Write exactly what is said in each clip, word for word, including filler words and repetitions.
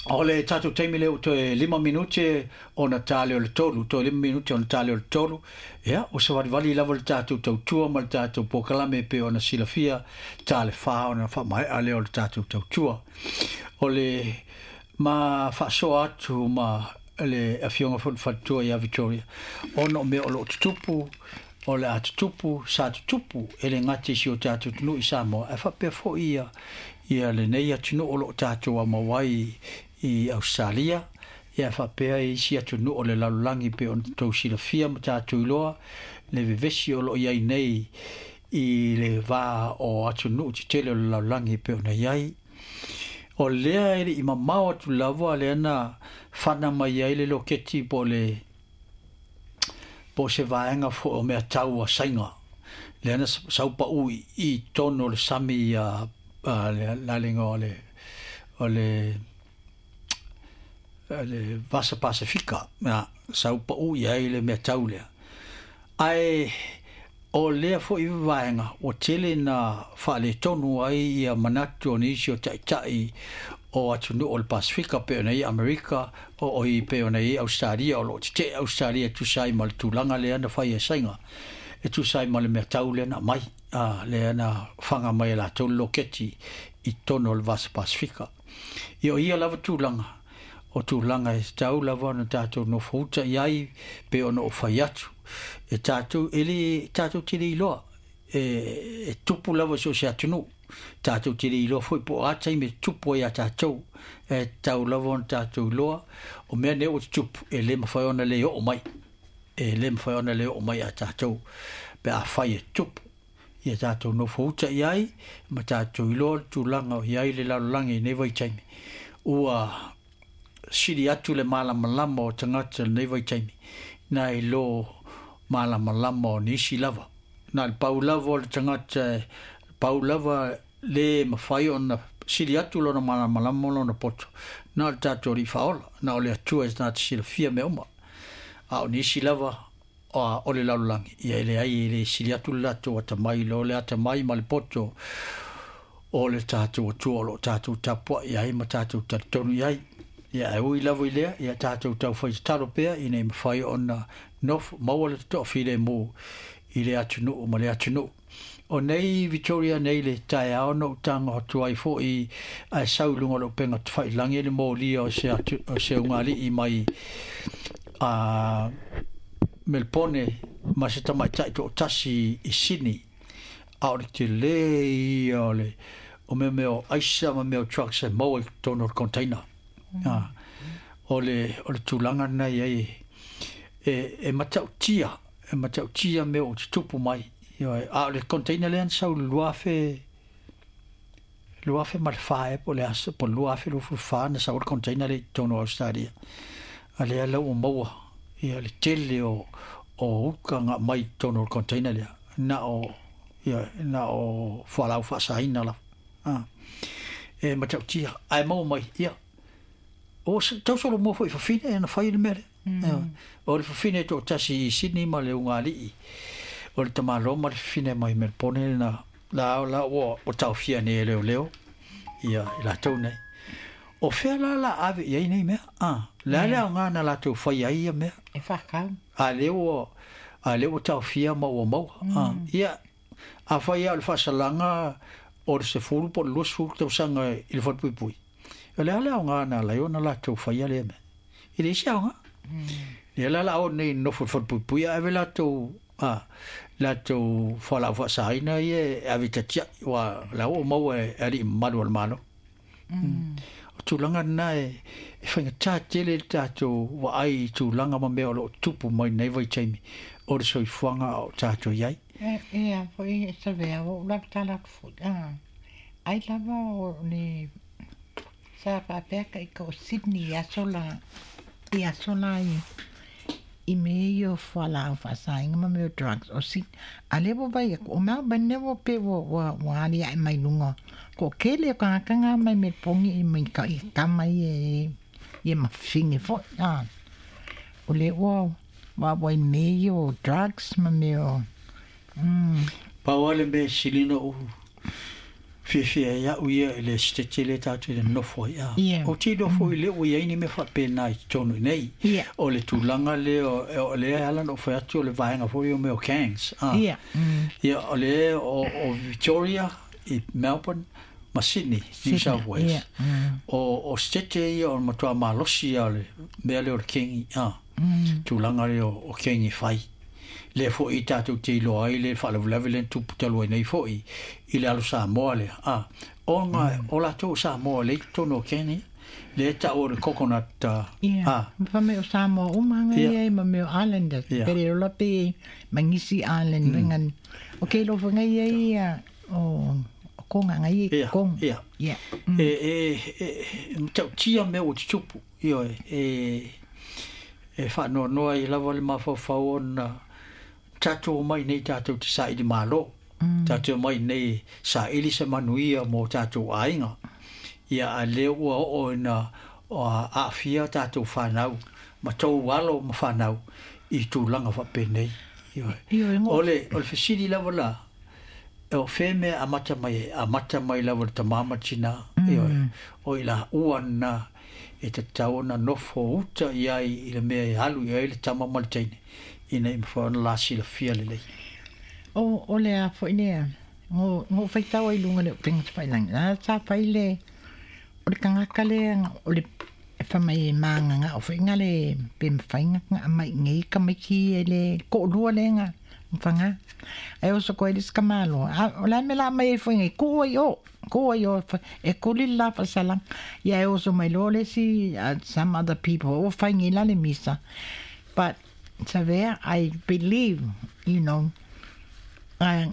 O le tatou taimi lea ua toe lima minute ona ta lea o le tolu, toe lima minute ona ta lea o le tolu. Ia, ua savalivali lava le tatou tautua ma le tatou polokalame pei ona silafia ta le fa ona faamaea lea o le tatou tautua. O le ma faasoa atu ma le afioga foi le faletua ia Victoria, ona o mea o lo o tutupu, o le a tutupu, sa tutupu e le gata i si o tatou atunuu i Samoa, ae faapea foi ia, ia lenei atunuu o lo o tatou aumau ai i Ausetalia, ia faapea isi atunuu o le lalolagi pei ona tou silafia ma tatou iloa le vevesi o lo o i ai nei i le va o atunuu tetele o le lalolagi pei ona i ai. O lea e le i mamao atu lava lea na fana mai ai le loketi po o le po o se vaega foi o mea tau a Saina. Lea na saupau i, i totonu o le sami a, a le lalega o le o le le Vasa Pasifika, ia, saupau i ai le mea tau lea. Ae o lea foi vaega ua tele na faaletonu ai ia manatu o nisi o taitai o atunuu o le Pasifika pei ona i Amerika o o i pei ona i Australia, o lo o tetee Australia e tusa ai ma le tulaga lea na fai e Saina, e tusa ai ma le mea tau lea na aumai, a, lea na faga mai e latou le loketi i totonu o le Vasa Pasifika. Ia o ia lava tulaga, o tulaga e tatau lava ona tatou nofouta i ai pei ona ou fai atu. E tatou, e le, tatou te le iloa, e, e tupu lava i so o se atunuu. Tatou te le iloa foi po o a taimi e tupu ai ia tatou. E tatau lava ona tatou iloa, o mea nei ua tutupu, e le mafai ona le oo mai. E le mafai ona le oo mai ia tatou pe afai e tupu. Ia tatou nofouta i ai, ma tatou iloa le tulaga o i ai le lalolagi i nei vaitaimi. Ua sili atu le malamalama o tagata i lenei vaitaimi, nai lo malamalama o nisi lava. Na le pau lava o le tagata, pau lava le mafai ona sili atu lona malamalama ma lona poto, na o le tatou Alii Faaola, na o le Atua e na te silafia mea uma. A o nisi lava o le lalolagi, ia e leai, e le sili atu le latou atamai, lo le atamai ma le poto o le tatou Atua o lo o tatou tapuai ai ma tatou talitonu i ai. Ia e ui lava i lea, ia tatou taufai tatalo pea ina ia mafai ona nofo maua le toafilemu i le atunuu ma le atunuu. O nei Victoria nei le taeao na ou tago atu ai foi ae sau i luga o le upega tafailagi le molia o se, atu, o se ugali'i mai a Melpone ma se tamaitai toatasi i Sydney. A o le tele ia o le o mea mea o aisa ma mea o trucks e maua i totonu o le container. Mm. O le, o le tulaga lena i ai e, e matautia, e matautia mea o tutupu mai. A o le container lea na sau i le lua afe, lua afe ma le fa ea po o le aso, po o le lua afe luasefulu fa na sau ai le container lea i totonu o Australia. A lea la ua maua ia le tele o, o uka na aumai i totonu o le container lea. Na o, ia, na o fualaau faasaina lava. Ah. E matautia, ae maua mai, ia. O tau solomua foi i fafine na fai le mea lea. Mm. O le fafine toatasi i Sydney ma le ugali'i. O le tamaloa ma le fafine mai Melbourne na la la ua ua taofia nei e leoleo ia i latou nei. O fea la la ave i ai nei mea? Ah, le a le aoga na latou fai ai ia mea? E whakau. A lea ua a lea ua taofia ma ua maua. Mm. Ah, ia afai lava o le faasalaga o le sefulu po o le luasefulu tausaga i le falepuipui. O le a le aoga na ala ai ona latou faia lea mea? E leai se aoga. Lea la la o nei nofo i le falepuipui ae ave latou a latou fualaau faasaina ia e ave i tatiai, aua la ua maua e alii mamalu o le Malo. Mm. O tulaga lena e, e faigata tele le tatou vaai i tulaga ma mea o lo o tupu mai nei vaitaimi o le soifuaga o tatou i ai. E, e a foi e savea o ula tala atu foi. Ah, ai lava o ni sa faapea ka i ka o Sydney i aso la i aso la i i mea ia o fualaau faasaina ma mea o drugs o Sydney. A lea ua vaai atu o Melbourne lea ua pei ua ua ua aliae mai luga toatele o tagata na mai Melbourne i mai ka i tama ia e ia mafine foi. Ah, o lea ua ua i mea ia o drugs ma mea o mm. Pau lava le mea e sili ona ou Fiafia ai a'u ia i le Setete lea tatou te nonofo ai a. Ia. Ou te iloa foi lea ua i ai ni mea faapena i totonu i nei. Ia. O le tulaga lea o lea e ala ona ou fai atu o le vaega foi o mea o gangs a. Ia. Mm. Ia o le o, o Victoria i Melbourne ma Sydney, New South Wales. Ia. Mm. O, o Setete ia o le matua malosi ia o le mea lea o le kengi a. Mm. Tulaga lea o, o kengi fai. Lea foi tatou te iloa ai le faalavelave lea na tupu talu ai nei foi i le alo Samoa lea. A, ona o latou Samoa lea i totonu o kengi, lea ta'u o le coconut uh, Ia. a. Ma mea o Samoa uma nga Ia. ia ma mea o Islanders. Ia. Pere ola pe Mangisi Island mm. O ke lo fanga ia ia o o konga nga ia Ia, kong. ia. Ia. E, e, e, e matautia mea ua tutupu. Ioe, e, e faanoanoa ai lava le mafaufau ona tatou omai nei tatou te saili malo. Mm. Tatou omai nei saili se manuia mo tatou aiga. Ia a lea ua oo ina o aafia tatou whanau, ma tou alo ma whanau i tulaga faapenei. Ioe. Ioe, ngo- O le, o le fesili lava la, o fea mea amata mai ai, amata mai lava le tamā ma le tinā, ioe. O i la ua na e tatau ona nofo uta i ai i le mea e alu i ai le tama ma le teine, ina i mafai ona la silafia lelei. O o le a foi lea. Ngo ngo faitau ai lunga le upega tafailagi. La sa fai le o le tagata lea o le e fai mai e magaga'o fo'iga le pe mafaiga ga'a mai igei tamaiti e le to'alua lea fagā ae oso koe le isi tamāloa a o le a mea la aumai ai fo'iga ku'u ai o ku'u ai o e kuli le la fa'asalaga ia e oso mai loa le isi some other people ua faigī la le misa but Savea I believe you know uh,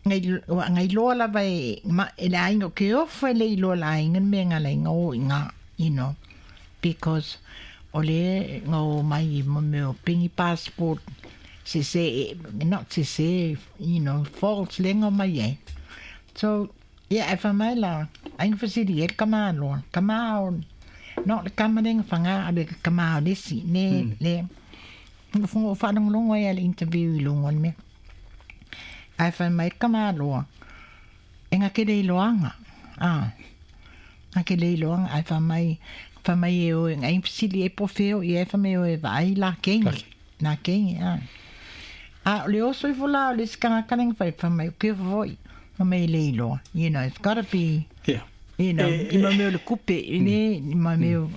ngai ngai loa lava e ma e le aiga o ke ofo e le iloa le aiga le mea galaiga o iga you know because o le ngo mai mo mea o pengi passport se se not se se you know false le ngo mai ai so yeah e fa mai la aiga fasili e ka maloa ka ma o no le kama lenga fanga a le kama o le si ne le ngo faalogologo ai a le interview i luga o le mea ae fai mai ka maloa e ga ke le iloaga a ga ke le iloaga ae fai mai fai mai e oe ga fesili e po feo ia e fai mai oe vaai la kengi la kengi a a o le oso ifo la o le isi tagata lega fai fai mai o ke fo'i fai mai e le iloa you know it's gotta be Ia. you know E- i ma mea o le kupe i le i ma mea o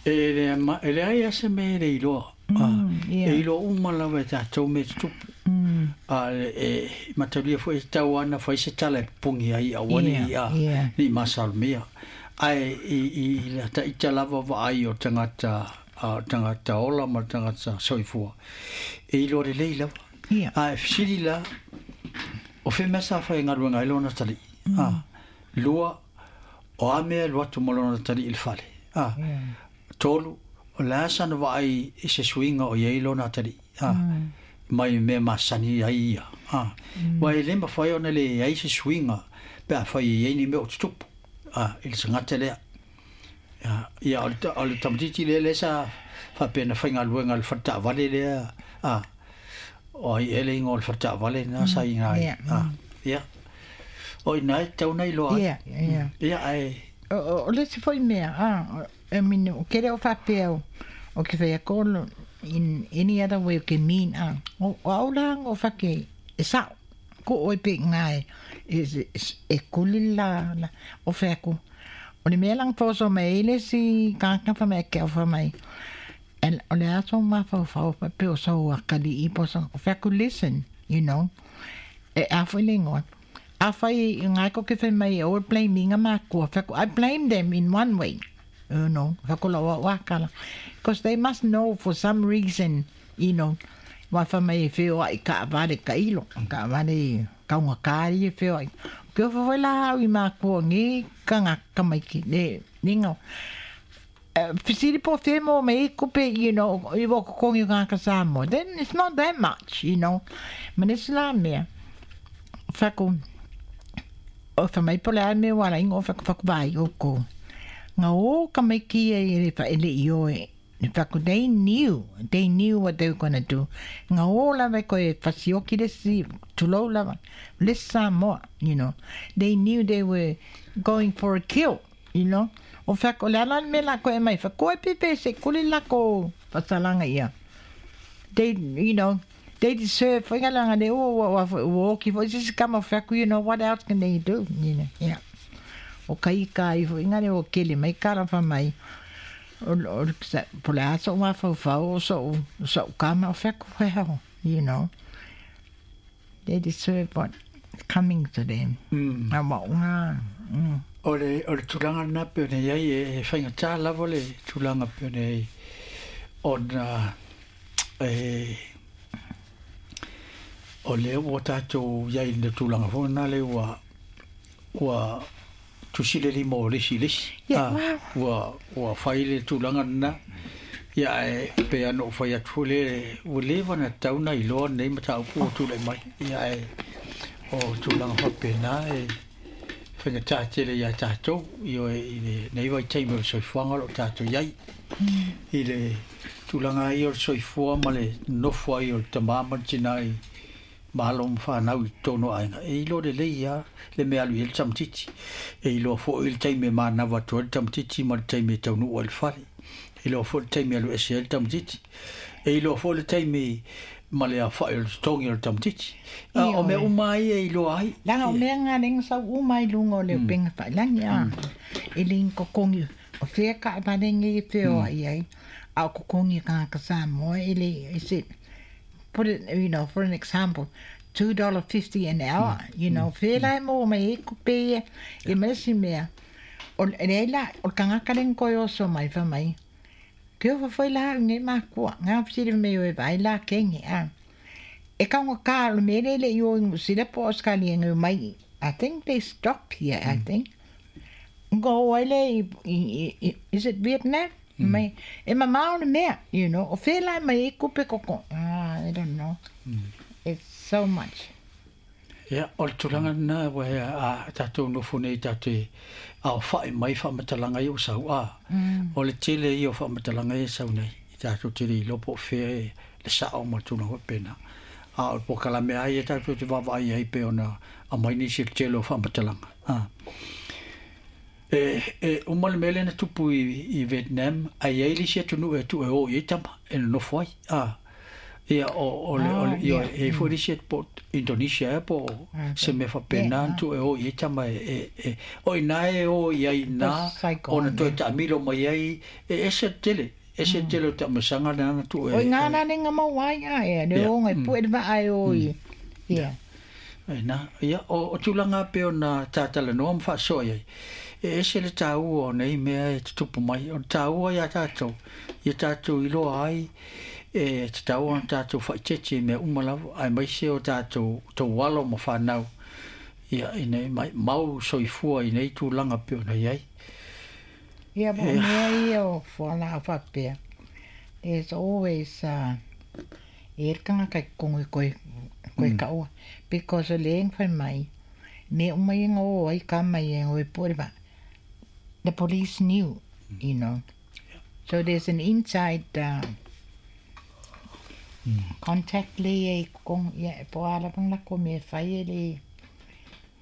E le ma, e leai a se mea e le iloa. Mm, ia. E iloa uma lava e tatou mea tutupu. mm, A e, e matalia foi e tau ana fai se tala e pungi ai aua Ia, ni a ia. ni masalomia. Ae i, i, i la taita lava vaai o tagata a tagata ola ma tagata soifua. E iloa lelei lava. Ia. A e fesili la, o fea mea sa fai galuega ai lona tali'i. A, lua, o a mea e alu atu ma lona tali'i i le fale. A, ia. tolu, o le a sana vaai i se suiga o iai lona tali'i. A, mai mea masani ai ia. A, ua e le mafai ona leai se suiga pe a fai e iai ni mea o tutupu. A, i le tagata lea. Ia, ia o le, o le tamaitiiti lea lea sa faapea na faigaluega i le faletaavale lea. A, o ai ea le igoa o le faletaavale na sa iga ai. Ia. A, ia. O ina e tatau ona iloa ai. Ia, ia. Ia, ae, O, o, o le isi fo'i mea, a, o- I mean, o ke leo faapea o, o ke whea kolo in any other way o ke mean, a, o, o au la o whake, e sao, ko oi pe ngai, e, e, e kuli la, la, o whea ko. O le mea lang pōso mai, ele si kāka wha mai ke o wha mai, and o le aso ma whau whau pa pe o sau a kali i po sa, o whea ko listen, you know, e a whai le ingoa. A whai i ngai ko ke whai mai e o blame inga mākua. Whai ko, I blame them in one way. You know, whai ko la wa wakala. Because they must know for some reason, you know, wa whai mai e whio ai ka awale ka ilo, ka awale kaunga kāri e whio ai. Ke o whai la hau i mākua ngi ka ngā kamaiki, ne, ne ngau. Fisili po whemo me i kupe, you know, i wako kongi ngā ka Samoa. Then it's not that much, you know. Manesi la mea. Whako, o wha mai po le ai me wala ingo whako whako vai o ko. Ngā o ka mai ki e le wha ele i o e In fact, they knew, they knew what they were going to do. Nga o lava ko e fasioki le si, tulou lava, le Samoa, you know. They knew they were going for a kill, you know. O fact, o le ala me la ko e mai, fa koe pepe se kuli la ko fasalanga ia. They, you know, they deserve, fa nga langa le o o o o ki fo, sisi kama faku, you know, what else can they do, you know, yeah. O kai kai fo, inga le o kele mai kara fa mai, o o po le aso wa fau fau o so so kama o faku well, you know. They deserve what's coming to them. Mm. A wa unga. Mm. O le, o le tulaga lena pe ona i ai e, e faigata lava le tulaga pe ona i ai ona e o lea ua tatou i ai i le tulaga foi lena le ua ua tusi le lima o le isi i le isi. Yeah, Ah, wow. ua ua fai le tulaga lena ia ae pei ona ou fai atu foi le ua leva ona tatau ona iloa lenei mataupu ua tulai mai ia ae o tulaga faapena e faigata tele iā tatou ioe i lenei vaitaimi o le soifuaga o loo tatou iai i le tulaga ai o le soifua ma le nofo ai o le tamā ma le tinā i malo ma fanau i totonu o aiga e iloa lelei lava le mea alu i ai le tamatiti e iloa foi le taimi e manava atu ai le tamatiti ma le taimi e taunuu ai le fale e iloa foi le taimi e alu ese ai le tamatiti e iloa foi le taimi ma le afa'i o le totogi o le tamatiti a o mea Ioe. uma ai e iloa ai Langa o ia mea ngā lenga sau uma i lunga o le upenga whailangi a. E ling kokongi o whea ka e marenge i whio ai ai. A o kokongi ka ka Samoa e le, is it, put it, you know, for an example, two dollars fifty an hour, you know, whea lai mō mai e kupe ia, e marasi mea. O le la, o kangaka lenga koe oso mai wha mai. Ke o whawhai la au nei mākua, ngā whisiri me o e vai la kenge, a. E kaunga kā o me lele i o ingu sila po Australia ngai mai. I think they stopped here, I think. Ngo ai le i, i, i, is it Vietnam? Mai, e mamao le mea, you know. O whela mai e kupe koko. Ah, I don't know. It's so much. Ia o le tulaga lena ua a tatou nofo nei tatou te aofa'i mai faamatalaga ia ua sau a o le tele ia o faamatalaga ia e sau nei i tatou te le iloa po o fea e le sa'o ma le tulaga faapena a o le polokalame lava ia tatou te vaavaai ai pe ona aumai nisi o le tele o faamatalaga a e e uma le mea lea na tupu i, i Vietnam ae iai le isi atunuu e tuu e o i ai tama e nonofo ai a ia o o le o le Oh, ia yeah. e foi le isi po Indonesia e po se mea faapena Yeah. na tuu e o i ai tama e e e o ina e o i ai ina Saigon, ona toe yeah. taamilo mai ai e ese tele ese tele o taamasaga lena na tuu O e ngā e nā nenga mau ai a e, le ia o ngai pu e va ai o i. Yeah. E na, ia, o, o tulaga pe ona tatalanoa ma faasoa iai. E ese le tāua o nei mea e tutupu mai. O le tāua iā tātou, ia tātou iloa ai, e tatau ona tātou faaeteete i mea uma lava, aemaise o tātou tou alo ma whanau. Ia, ina i mai, mau soifua i nei tulaga pe ona iai. Ia, mo Ia, mea ia o fuala a whapea. There's always, uh, e kanga kai kongi koe, koe kaua. Because o le eng whai mai, me umai inga o ai ka mai e ngoi pore ba. The police knew, you know. So there's an inside uh, contact le e kong ia e po ala pang la ko me whai e le